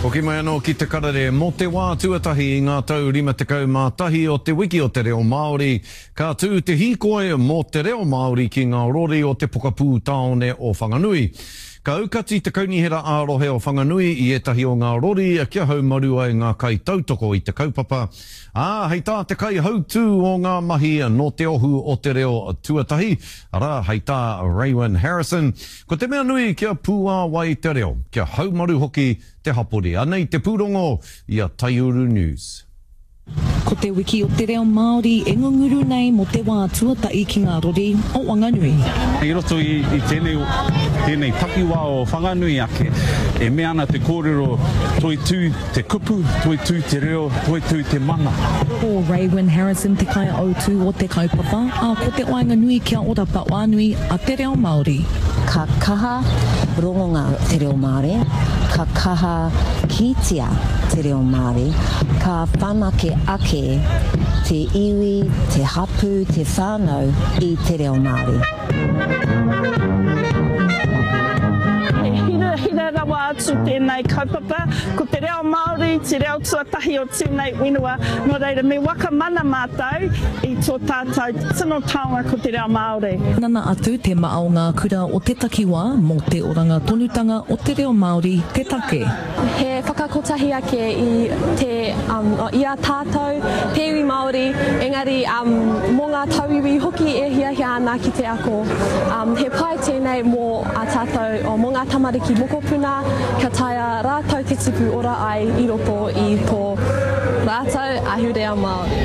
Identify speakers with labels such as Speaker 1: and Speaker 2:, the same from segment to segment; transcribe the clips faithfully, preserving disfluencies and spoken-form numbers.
Speaker 1: Hoki mai anō ki te karere mō te wā tuatahi i ngā tau rima tekau mā tahi o te wiki o te reo Māori, ka tū te hīkoi mō te reo Māori ki ngā rori o te pokapū tāone o Whanganui. Ka aukati te kaunihera ā-rohe o Whanganui i ētahi o ngā rori kia haumaru ai ngā kaitautoko i te kaupapa, ā, hei tā te kaihautū o ngā mahi nō te ohu o te reo tuatahi, arā, hei tā Raewyn Harrison, ko te mea nui kia pūāwai te reo, kia haumaru hoki te hapori. Anei te pūrongo i a Taiuru News.
Speaker 2: Ko te wiki o te reo Māori e ngunguru nei mō te wā tuatahi ki ngā rori o Wanganui.
Speaker 3: I roto i, i tēnei, tēnei takiwā o Whanganui ake, e mea ana te kōrero toitū te kupu, toitū te reo, toitū te mana.
Speaker 2: Ko Raewyn Harrison te kaihautū o te kaupapa, ā, ko te wainga nui kia ora whānui a te reo Māori.
Speaker 4: Ka kaha rongonga te reo Māori, ka kaha kitea te reo Māori, ka whanake ake te iwi, te hapū, te whānau i te reo Māori.
Speaker 5: He hirahira rawa atu tēnei kaupapa. Ko te reo Māori, te reo tuatahi o tēnei whenua. Nō reira, me whakamana mātou i tō tātou tino taonga ko te reo Māori.
Speaker 2: Nana atu te maha o ngā kura o te takiwā mō te oranga tonutanga o te reo Māori te take.
Speaker 6: He whakakotahi ake i, te, um, i a tātou, te iwi Māori, engari um, mō ngā tauiwi hoki e hiahia ana ki te ako. Um, he pai tēnei mō a tātou, o, mō ngā tamariki mokopuna, kia taea rātou te tipu ora ai i roto i tō rātou ahurea Māori.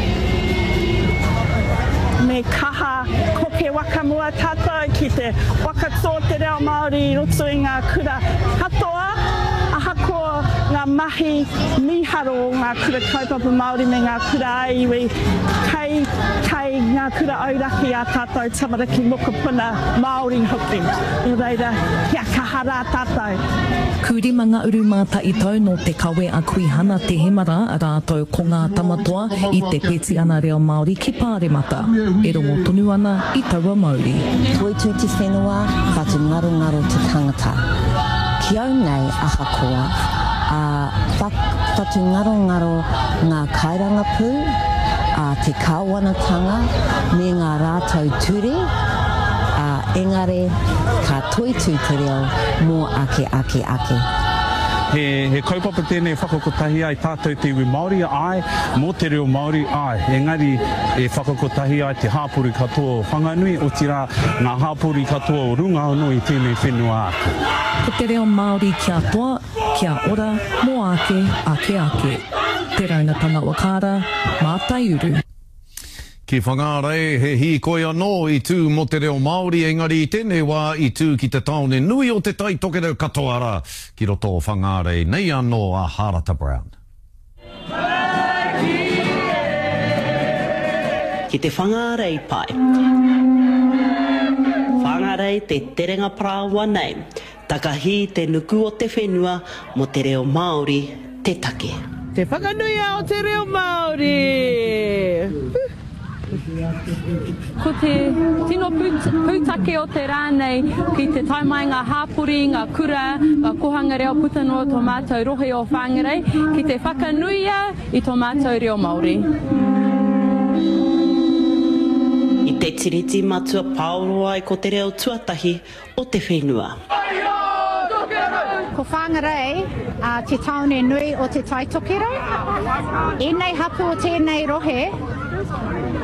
Speaker 5: Me kaha koke whakamua tātou ki te whakatō te reo Māori i roto i ngā kura katoa, ahakoa ngā mahi mīharo o ngā kura kaupapa Māori me ngā kura ā-iwi, kei, kei ngā kura auraki a tātou tamariki mokopuna Māori hoki. Nō reira, kia kaha rā tātou.
Speaker 2: Kūrima ngā uru mātaitau nō te kawe a Kuihana Te Hemara rātou ko ngā tamatoa i te petiana reo Māori ki Pāremata. E rongo tonu ana i taua mauri.
Speaker 4: Toitū te whenua, whatungarongaro te tangata. Ki au nei ahakoa, a whatungarongaro ngā kairangapū, a te kāwanatanga me ngā rātou ture, a engari ka toitū te reo mō ake ake ake.
Speaker 3: He, he kaupapa tēnei whakakotahi ai tātou te iwi Māori, ai, mō te reo Māori, ai. Engari e whakakotahi ai te hāpori katoa o Whanganui, otirā ngā hāpori katoa o runga anō i tēnei whenua ake.
Speaker 2: Ko te reo Māori kia toa, kia ora, mō ake, ake ake. Te Raunatanga Wakaara, mā Taiuru.
Speaker 1: Ki Whangārei, he hīkoi anō i tū mō te reo Māori, engari i tēnei wā i tū ki te tāone nui o te Tai Tokerau katoa rā, ki roto o Whangārei, nei anō a Harata Brown.
Speaker 7: Ki te Whangārei pai. Whangārei te terenga parāoa nei, takahī te nuku o te whenua mō te reo Māori te take.
Speaker 8: Te whakanuia o te reo Māori!
Speaker 9: Ko te tino pūtake o te rā nei ki te tae mai ngā hāpori, ngā kura, ngā kohanga reo puta noa tō mātou rohe o Whāngarei ki te whakanuia i tō mātou reo Māori.
Speaker 7: I te tiriti matua pāoro ai ko te reo tuatahi o te whenua.
Speaker 10: Ko Whāngarei te tāone nui o te Tai Tokerau. Ēnei hapū o tēnei rohe,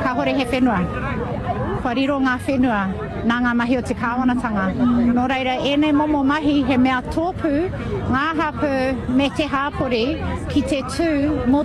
Speaker 10: kāhore he whenua. Kua riro ngā whenua nā ngā mahi o te kāwanatanga. Nō reira, ēnei momo mahi he mea tōpū ngā hapū me te hāpori ki te tū mō